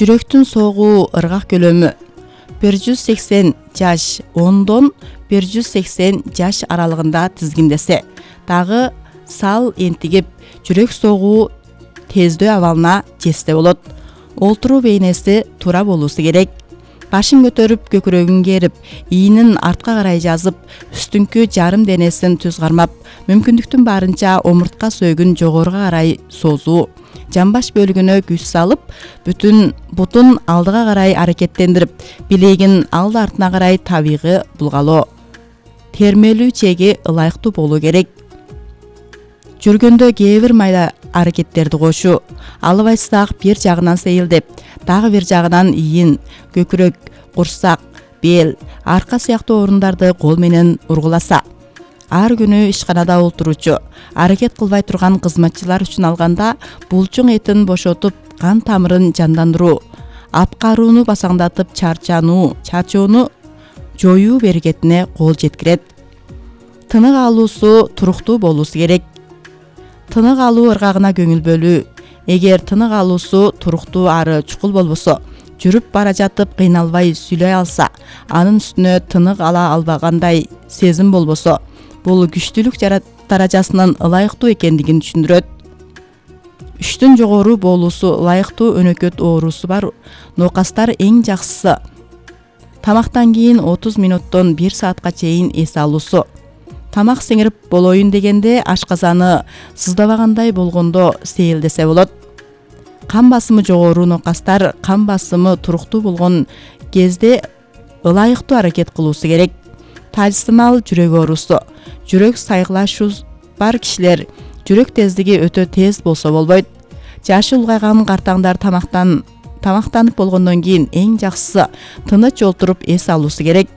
Жүрөктүн согуу ыргак көлөмү 180 жаш 10дон 180 жаш аралыгында тизгиндесе, дагы сал энтигип жүрөк согуу тездөө абалына жетсе болот. Олтуруу бейнеси туура болуусу керек. Башын көтөрүп, көкүрөгүн керип, ийинин артка карай жазып, үстүңкү жарым денесин түз кармап, мүмкүндүктүн барынча омуртка сөөгүн жогоруга карай созуу. Жамбаш бөлүгүнө күч салып, бүтүн бутун алдыга карай аракеттендирип, билегин алды артына карай табигый булгалоо. Термелүү чеги ылайыктуу болуу керек. Жүргөндө кээ бир майда аракеттерди кошуу. Алыбайсак бир жагынан сейилдеп, дагы бир жагынан ийин, көкүрөк, курсак, бел, арка сыяктуу орундарды кол менен ургуласа. Ар күнү ишканада олтуруучу, аракет кылбай турган кызматчылар үчүн алганда булчуң этин бошотуп, кан тамырын жандандыруу, апкарууну басаңдатып, чарчоону жоюу берекетине кол жеткирет. Тынык алуусу туруктуу болуусу керек. Тынык алуу ыргагына көңүл бөлүү. Эгер тынык алуусу туруктуу ары чукул болбосо, жүрүп бара жатып кыйналбай сүйлөй алса, анын үстүнө тынык ала албагандай сезим болбосо, бул күчтүүлүк даражасынын ылайыктуу экендигин түшүндүрөт. 3төн жогору болуусу ылайыктуу өнөкөт оорусу бар ноокастар эң жакшысы тамактан кийин 30 мүнөттөн 1 саатка чейин эс алуусу. Тамак сиңирип болоюн дегенде ашказаны сыздабагандай болгондо сейилдесе болот. Кан басымы жогору ноокастар кан басымы туруктуу болгон кезде ылайыктуу аракет кылуусу керек. Тажсымал жүрөк оорусу. Жүрөк сайгылашуу бар кишилер жүрөк тездиги өтө тез болсо болбойт. Жашы улгайган картаңдар тамактанып болгондон кийин эң жакшысы тыныч олтуруп эс алуусу керек.